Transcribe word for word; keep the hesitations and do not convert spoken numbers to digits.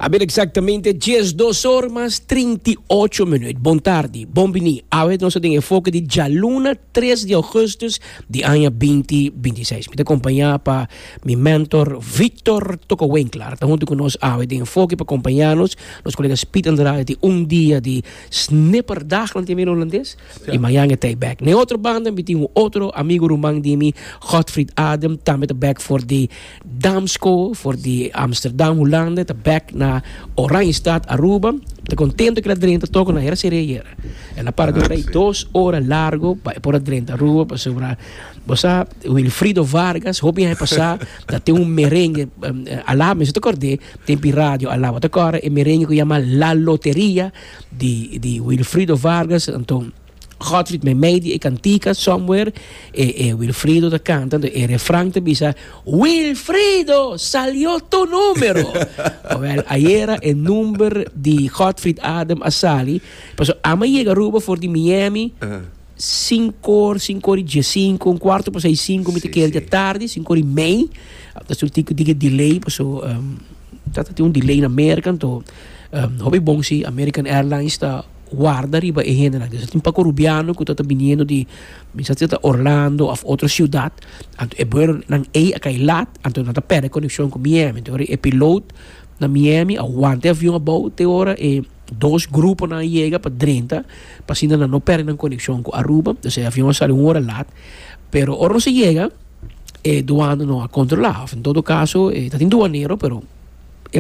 A ber, exactamente diesdos or mas trinta i ocho minuut. Bon tardi, bon bini. Awe nos tin Enfoke di djaluna tres di ougùstùs di aña dos mil bintiseis. Mi ta kompañá pa mi mentor Victor Toko Winkler. Ta huntu ku nos awe den Enfoke pa kompañá nos. Nos kolega Speed Andrade tin un dia di snipperdag, nan tin hulandes. I mañan e ta back. Na otro banda, mi tin un otro amigu, ruman di mi, Godfried Adam, tambe ta back for di Damsko, for di Amsterdam, Hulanda, ta back na Oranjestad, Aruba. Ta kontentu ku el a drenta toko na era seria. El a para Ah, di sí. dos ora largu pa por drenta Aruba, pa sobra. Bo sa, Wilfrido Vargas, hopi aña pasá, ta tin un merengue, um, alá, mi ta kòrda, tin radio alá, ta kòrda e merengue ku yama La Loteria di di Wilfrido Vargas. Anto Godfried me meidi e kantika somewhere e, e Wilfrido ta kanta e refrán, ta bisa: "Wilfrido, salió tu número." Wel, ayera e number di Godfried Adam a sali, paso ami a yega Aruba for di Miami Uh, sinku or, sinku or i sinku, un kuartu pa seis, sinku, mi Sí, ke di sí. tardi, sinku or i mei. Dat is un tiki tiki delay, paso um, dat tin un delay na Merka, anto um, hopi bon si American Airlines ta warda riba e hendenan. Dus tin poko rubiano ku ta biniendo di mi sa ta Orlando òf otro siudat. Anto e vuelo nan ei a kai lat, anto nan ta pèrdè konekshon ku Miami. Anto e piloto na Miami a wanta e avion abou te ora e dos gruponan yega pa drenta, pa asina nan no pèrdè nan konekshon ku Aruba. Dus e avion a sali un ora lat. Pero ora nos a yega, e duana no a kontrolá. En todo kaso, eh, ta tin duanero, pero